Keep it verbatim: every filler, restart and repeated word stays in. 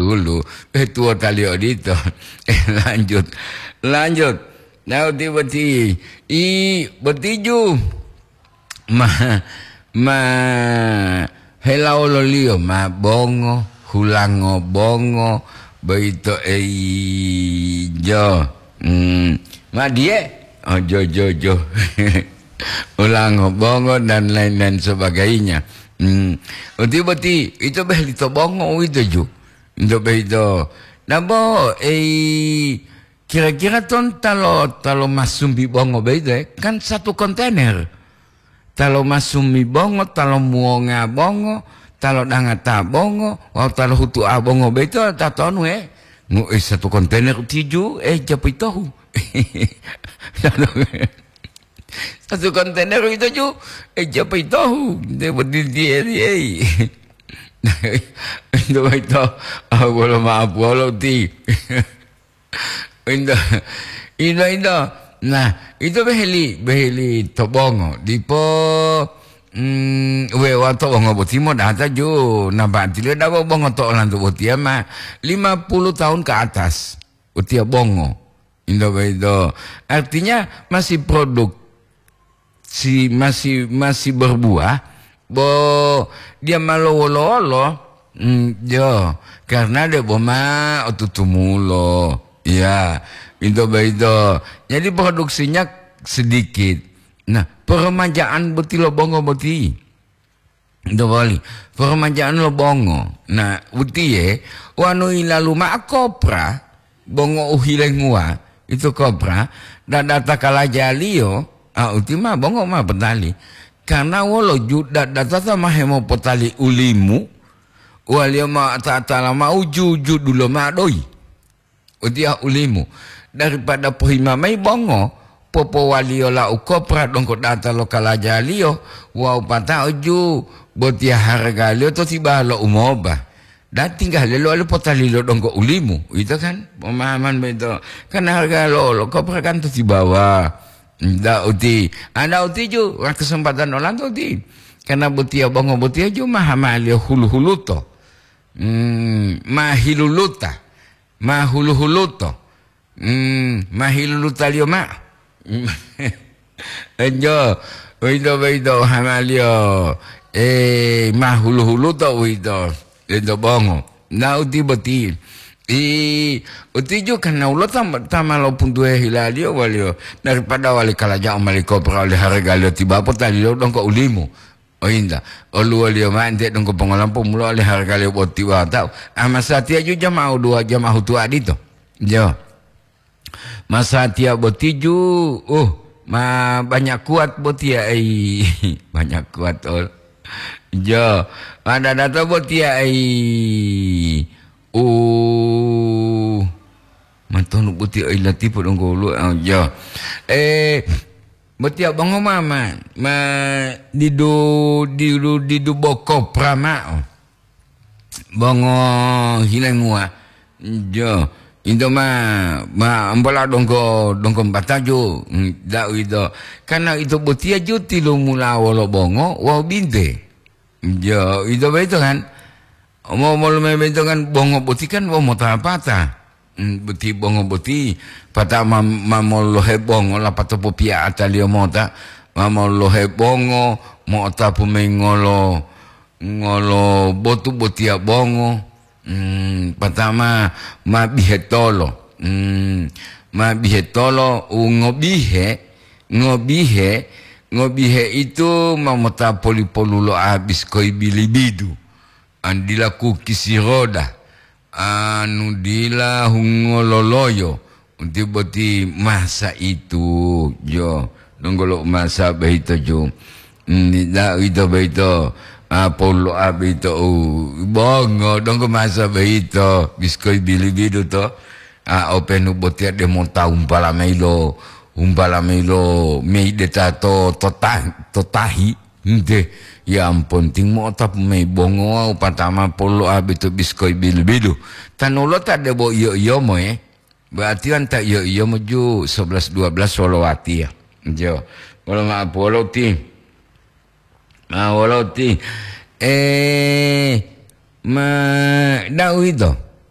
dulu. Eh, tuwotaliyo odito. Eh, lanjut. Lanjut. Nah, uti boti. I, botiju. Ma, ma, helawololiyo ma bongo, hulango bongo, boyito eyi jo. Hmm, ma diye? Oh, jo, jo, jo. Hulango bongo dan lain-lain sebagainya. Hmm, uti boti, ito beheli to bongo uwito ju. Ito boyito. Nabo, eyi, kira-kira ton talo, talo masumbi bongo boyito, eh? Kan satu kontainer. Talo masumbi bongo, talo muwonga bongo, talo dangata bongo, wawu talo hutu'a bongo boyito tatonu, eh? Ngu, eh, satu kontainer tiju, eh, japu itohu. Satu kontainer ito ju, eh, japu itohu. Dia berdiri, dia, dia. Itu itu, ah, bolo maaf, bolo ti. Inda, inda, inda. Nah, ito beheli, beheli to bongo. Dipo, mm, we wa to bongo boti mo data ju. Nah, berarti le dawa bongo to olanto botiya ma lima puluh tahun ke atas. Botiya bongo. Inda begitu. Artinya masih produk si masih, masih berbuah, bo dia ma lowolo-wolo, mm, yo, karena debo ma otutumulo. Ya, itu begitu. Jadi produksinya sedikit. Nah, peremajaan boti lo bongo boti. Dobali, peremajaan lo bongo. Nah, utiye, wanu ilalu ma'o kopra, bongo u hilenguwa, itu kopra, dadata kalajaliyo, a, uti ma bongo ma potali. Karena wolo ju dadata ta ma hemopotali ulimu, waliyo ma ta-, tala ma uju-uju dulo ma doyi. Utiya ulimu, daripada pohima mayi bongo, popowaliyo lau kopra donggo data lo kalajaliyo, wawu pata'o ju botiya haragaliyo to tibawa lo umoba. Dan tingga lelo ali potalilo donggo ulimu, uwito kan? Pemahaman boyito. Kan harga lo, lo kopra kan to tibawa. Nda uti, anda uti ju, wah kesempatan olanto uti. Karena botiya bongo botiya ju mahamaliyo hulu-huluto. Hmm, mahiluluta. Ma hulu-huluto. Hmm, ma hilulutaliyo ma'o. Enjo, uwito boyito hamaliyo, eh, ma hulu-huluto uwito, ento bongo. Na uti boti. I, uti ju karena ulo ta, ta ma lopuntuhe hilaliyo waliyo, daripada wali kalaja'o mali kopra oli haragaliyo tibapo taliyo donggo ulimu. Oyinta, oluwoliyo ma'o ente donggo pongolampo mulo oli haragaliyo boti wata'u. Amasatiya ju jama uduwa jama hutuwa dito. Jo. Masatiya boti ju, uh, ma banyak kuat botiya, ei. Banyak kuat ol. Jo. Ma dadato botiya, ei. Uh. Matonu botiya, ei, latipu donggo ulu, ah, jo. Eh, Botiya bongo ma, ma, ma didu, didu, didu boko pra ma'o. Bongo hilenguwa. Jo, ito ma, ma ambola donggo, donggo mbataju, mm, da'u ito. Karena ito botiya ju tilumula wolo bongo wawu binte. Jo, ito boyito kan? Omo-, molu memento kan bongo boti kan womota-pata. Hmm, boti bongo boti, pata ma, ma mololohe bongo, lapato popiya'ataliyo mota, ma mololohe bongo, mo'otapu mayi ngolo, ngolo botu botiya bongo, hmm, pata ma, ma bihetolo, hmm, ma bihetolo, u ngobihe, ngobihe, ngobihe itu ma mota poli-polu lo abis koi bilibidu. An dila kukisi roda, anu dila hungo loloyo, uti boti masa itu, jo, donggo lo masa boyito, jo. Ni da ito boyito, a, polo a boyito, u, bongo, donggo masa boyito, biskoi bilibidu to, a, openu botiya de mota umpala mayi lo, umpala mayi lo, mei de tato, to ta-, to tahi. Nte, yang penting mo'otapu mayi bongo wawu patama polo a boyito biskoi bilu-bilu. Tanulota debo iyo-iyomo, e. Berarti kan ta iyo-iyomo ju sebelas dua belas wolo watiya. Jo. Wolo ma'o polo ti. Ma wolo ti. Eh, ma, da'u ito.